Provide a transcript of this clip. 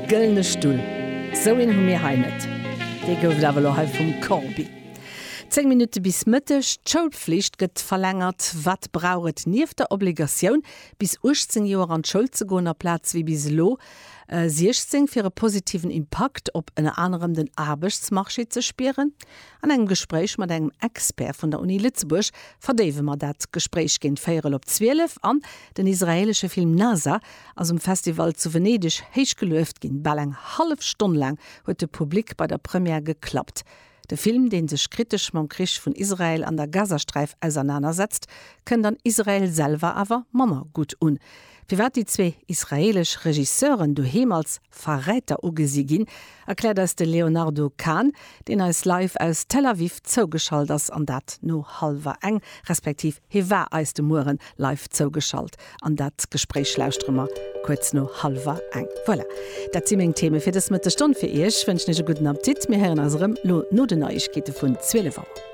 Gëllene Stull, sou een hu mir hei net. Dee gouf et awer elo hei vum Corbi. 10 Minutte bis Mëtteg, D'Schoulpflicht gëtt verlängert. Wat brauch et nieft der Obligatioun, bis 18 Joer an d'Schoul ze goen, aplaz wéi bis elo 16, fir e positiven Impakt op ënner anerem den Aarbechtsmarché ze spieren? An engem Gespréich mat engem Expert vun der Uni Lëtzebuerg verdéiwe mer dat Gespréich géint véierel op 12. An den israeelesche Film Nasa ass um Festival zu Venedeg héich gelueft ginn. Bal eng hallef Stonn laang huet de Public bei der Première geklappt. De Film, dee sech kritesch mam Krich vun Israel an der Gazasträif ausernanersetzt, kënnt an Israel selwer awer manner gutt un. Firwat déi zwee israeelesch Regisseuren doheem als Verräter ugesi ginn, erkläert eis de Léonardo Kahn, deen eis live aus Tel Aviv zougeschalt ass, an dat no hallwer eng, respektiv hie war eis de Mueren live zougeschalt. An dat Gespréich lauschtere mer kuerz no hallwer eng. Voilà, dat si meng Theme fir dës Mëttesstonn fir Iech. Wënschen Iech e gudden Appetit. Mir héieren eis erëm lo no den Neiegkeete vun 12 Auer.